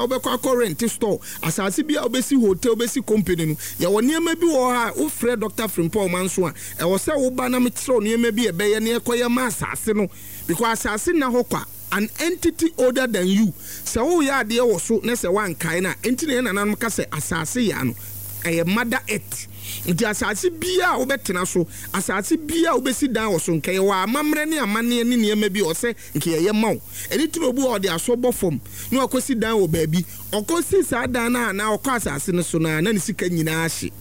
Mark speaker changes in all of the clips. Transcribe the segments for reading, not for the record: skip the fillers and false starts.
Speaker 1: a wobɛkɔ akɔ rent store, asase bi a wobɛsi hotel, wobɛsi company no, yɛwɔ nneɛma bi wɔ hɔ a wofrɛ Doctor Frimpong Manso a, ɛwɔ sɛ woba na mekyerɛ wo nneɛma bi a ɛbɛyɛ na yɛkɔyɛ ma asase no because asase nna hɔ kwa, an entity older than you, sɛ woreyɛ adeɛ wɔ so na sɛ woankae no a, enti na yɛn nananom ka sɛ asase yɛ ano, ɛyɛ mother earth. Nti asase biara a wobɛtena so, asase biara a wobɛsi dan wɔ so, nka yɛwɔ amammerɛ ne amanneɛ ne nneɛma bi a ɛwɔ sɛ nka yɛyɛ ma wo. Ɛno nti na obi wɔ hɔ a ɔde aso bɔ fam na wakɔsi dan wɔ baabi. Ɔkɔsi saa dan no a anaa ɔkɔ asase no so no a, na ne sika nyinaa ahye.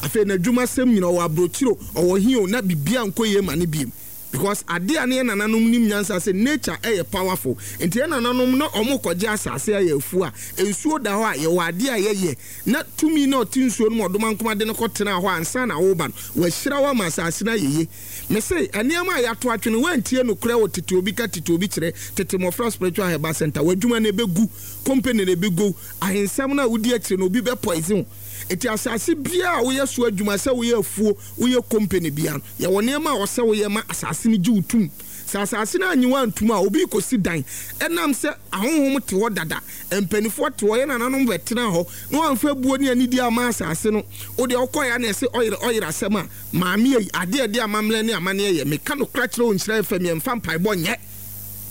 Speaker 1: Afei n'adwumasɛm nyinaa, ɔwɔ aburokyire o, ɔwɔ he o, na biribiara nkɔ yie ma no bio. Because adeɛ a na yɛn nananom nim nyansa sɛ nature yɛ powerful. Nti yɛn nananom na wɔrekɔgye asase ayɛ afuo a, nsuo da hɔ a, yɛwɔ adeɛ a yɛyɛ na tumi no a ɔte nsuo no mu ɔdomankoma de no kɔtenaa hɔ ansa na woreba no, wahyira wo ama asase no ayɛ yie. Mese, nneɛma a yɛato atwene, woantie nokorɛ wɔ tete obi ka tete obi kyerɛ, tete mmɔfra spiritual herbal center, w'adwuma no ɛbɛgu, company no ɛbɛgu, ahensɛm no a wodi akyire no obi bɛ poison wo. Enti asase biara a woyɛ so adwuma, sɛ woyɛ afuo, woyɛ company biara no, yɛwɔ nneɛma a ɔsɛ woyɛ ma asase no gye wo tum. Sɛ asase no annye wo antum a, obi rekɔsi dan. Ɛnam sɛ ahonhom te hɔ dada, mpanimfoɔ te hɔ, yɛn nananom bɛtenaa hɔ, na wɔamfa abuo ne anidie amma asase no. Wo deɛ wokɔeɛ a na ɛse ɔyere ɔyere asɛm a, maame ei, adeɛ a ɛde amammerɛ ne amanneɛ yɛ, meka nokorɛ kyerɛ wo Nhyira FM, yɛmfa mpaebɔ nyɛ.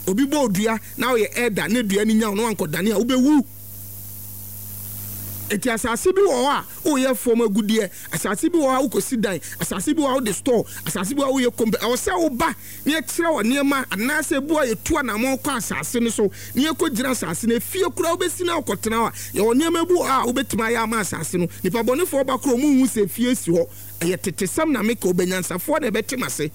Speaker 1: Obi bɔ wo dua na woyɛ elder na dua no nya wo na woankɔdane a, wobɛwu. Enti asase bi wɔ hɔ a woyɛ fam agudeɛ, asase bi wɔ hɔ a wokɔsi dan, asase bi wɔ hɔ a wode store, asase bi wɔ hɔ a woyɛ kompe. Ɛwɔ sɛ woba na yɛkyerɛ wo nneɛma anaasɛ ebi wɔ hɔ a yɛtu anammɔn kɔ asase no so na yɛkɔgyina asase no. Efie koraa wobɛsi na wokɔtena hɔ a, yɛwɔ nneɛma bi wɔ hɔ a wobɛtumi ayɛ ama asase no. Nnipa bɔnefoɔ ba koraa wɔnhu sɛ efie si hɔ. Ɛyɛ tetesɛm na meka, ɔbɛnyansafoɔ na ɛbɛte m'ase.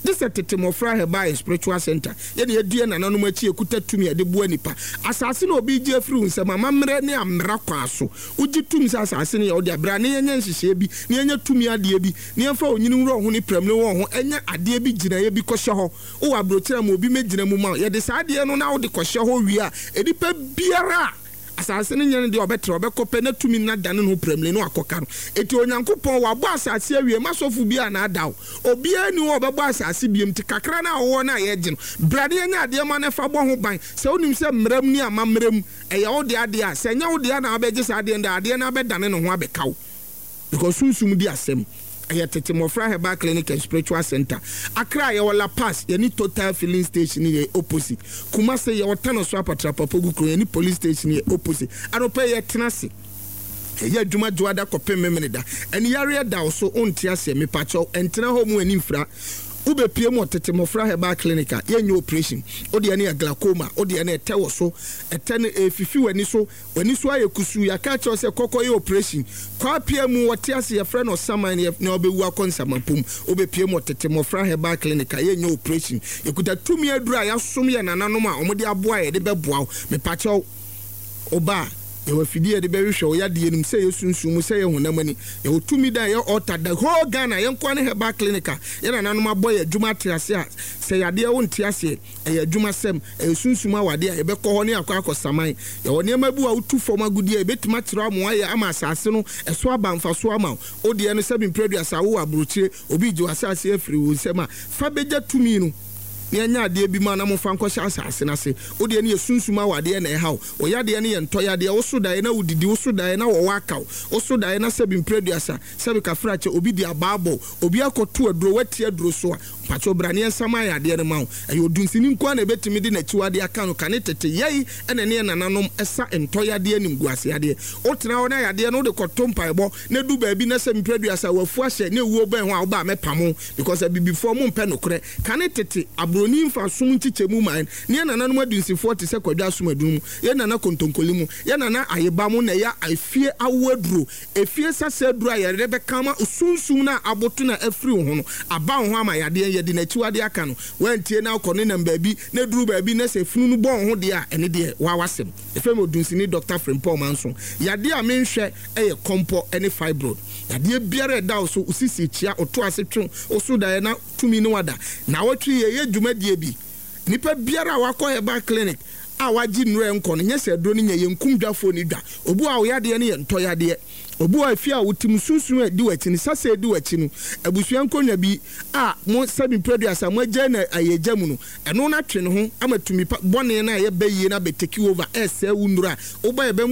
Speaker 1: Gye sɛ tete mmɔfra Herbal and Spiritual Center, yɛ na yɛadi yɛn nananom akyi, yɛkuta tumi a yɛde boa nnipa. Asase na obi regye afiri wo nsam, amammerɛ ne ammara kwan so. Wogye tom sɛ asase no yɛ wo dea. Bra na yɛnyɛ nhyehyɛeɛ bi, na yɛnyɛ tumi adeɛ bi, na yɛmfa onyini nwura wo ho ne prɛmire wɔ wo ho, ɛnyɛ adeɛ bi gyinaeɛ bi kɔhyɛ hɔ. Wowɔ aburokyire a, ma obi mmɛgyina mu ma wo. Yɛde saa adeɛ no na wode kɔhyɛ hɔ wie a, nnipa biara a. Asase no nyɛ no deɛ ɔbɛtra, ɔbɛkɔ pɛ na tumi no adane ne ho prɛmire na wakɔka no. Enti Onyankopɔn, wabɔ asase awie, mma sɔfo biara nnaadaa wo. Obiara nni hɔ a ɔbɛbɔ asase bio, nti kakra no a wowɔ no a yɛregye no, bra na yɛnyɛ adeɛ ma no fa bɔ ho ban. Sɛ wonim sɛ mmara mu ne amammerɛ mu, ɛyɛ wo dea deɛ a, sɛ ɛnyɛ wo dea na wobɛgye saa adeɛ no deɛ a, adeɛ no abɛdane ne ho abɛka wo. Because sunsum di asɛm. Ɛyɛ Tete Mmɔfra Herbal Clinic and Spiritual Centre. Accra yɛwɔ La Paz, yɛne Total Filling Station yɛ opposite. Kumasi yɛwɔ Tanoso Apatra Papogu Kuro, yɛne Police Station yɛ opposite. Anɔpa yi yɛtena ase yɛyɛ adwuma Dwoada kɔpem Memeneda. Ɛne yareɛ da wo so wonte aseɛ mepakyɛw ɛntena hɔ mu ani mfira. Wobɛpue mu wɔ Tete Mmɔfra Herbal Clinic a yɛnyɛ operation. Wodeɛ no yɛ glaucoma, wodeɛ no ɛtɛ wɔ so, ɛtɛ no ɛrefifi w'ani so. W'ani so ayɛ kusuu, yɛaka akyerɛ wo sɛ kɔ kɔyɛ oprehyɛn. Kɔ apia mu, wɔte ase, yɛfrɛ no ɔsaman na yɛ na wobɛwu akɔ nsamapɔ mu. Wobɛpue mu wɔ Tete Mmɔfra Herbal Clinic a, yɛnyɛ oprehyɛn. Yɛkuta tumi aduro a yɛasom yɛn nananom a wɔde aboa a yɛde bɛboa wo. Mepakyɛw, woba a, yɛwɔ afidie a yɛde bɛhwehwɛ wo yadeɛ no mu, sɛ ɛyɛ sunsum mu, sɛ ɛyɛ honam ani. Yɛwɔ tumi da a ɛyɛ altar, the whole Ghana, yɛn nko ara ne herbal clinic a yɛn nananom abɔ yɛn adwuma ate ase a, sɛ yadeɛ wonte aseɛ, Ɛyɛ adwumasɛm, ɛyɛ sunsum awadeɛ a yɛbɛkɔ hɔ ne akɔ akɔsaman. Yɛwɔ nneɛma bi wɔ a wotu fam agudeɛ a yɛbɛtumi akyerɛ wo ama woayɛ ama asase no ɛso aba mfasoɔ ama wo. Wo deɛ no sɛbi mprɛ aduasa wowɔ aburokyire, obi regye w'asase afiri wo nsam a, fa bɛgya tumi no na yɛnyɛ adeɛ bi ma na momfa nkɔhyɛ asase no ase. Wo deɛ no yɛ sunsum awadeɛ na ɛha wo. Wo yadeɛ no yɛ ntɔ yadeɛ, woso daeɛ na wodidi, woso daeɛ na wɔwɔ aka wo, woso daeɛ na sɛbi mprɛ aduasa, sɛbi kafrakyɛ, obi de abaa bɔ wo, obi akɔto aduro, woati aduro so a, Mpakyɛw bra ne yɛnsa ma ayɛ adeɛ no ma wo. Ɛyɛ odunsini nko ara na ɛbɛtumi de n'akyiwadeɛ aka no. Kane tete yɛi na ɛne yɛn nananom sa ntɔ yadeɛ animguase yadeɛ. Wotena hɔ na yadeɛ no wode kɔto mpaebɔ na ɛdu baabi na sɛ mprɛ aduasa wafu ahyɛ na ɛwuo bɛn ho a woba a mɛpamo wo because abibifoɔ mompɛ nokorɛ. Kane tete abroni mfa som nkyekyɛmu ma yɛn ne yɛn nananom adunsifoɔ te sɛ Kwadwo Asomadunu mu, yɛn nana Kontonkoli mu, yɛn nana Ayeba mo na ɛyɛ efie awoɔ aduro. Efie sasa aduru a yɛde bɛka ama sunsum no a aboto na afiri wo ho no aba wo ho ama yadeɛ, yɛde n'akyiwadeɛ aka no. Woantie na wokɔ nenam baabi na ɛduru baabi na sɛ funu no bɔ wo ho deɛ a, ɛno deɛ woa w'asɛm. Yɛfrɛ me Odunsini Dɔkta Frimpong Manso. Yadeɛ a menhwɛ yɛ kɔmpɔ ne fibroid. Yadeɛ biara a ɛda wo so, wo sisi kyea, wo to ase twe wo so daeɛ na tumi ne wo ada. Naawɔtwe yi yɛyɛ dwumadie bi. Nipa biara a wakɔ herbal clinic a wagye nnuro a ɛnkɔ no, nyɛ sɛ aduro no nyɛ, yɛnkum dwafoɔ nni dwa. Obi wɔ hɔ a wo yadeɛ no yɛ ntɔ yadeɛ. Obi wɔ hɔ a efie a wote mu, sunsum a ɛdi w'akyi no, sasa a ɛdi w'akyi no, abusua nkonnwa bi a mo sɛbi mprɛduasa mo agyae no ayɛgya mu no, ɛno no atwe ne ho ama tumi pa bɔne no a ɛyɛ bayie no abɛ take over ɛresɛe wo nnuro a wobɔ a ɛbɛma.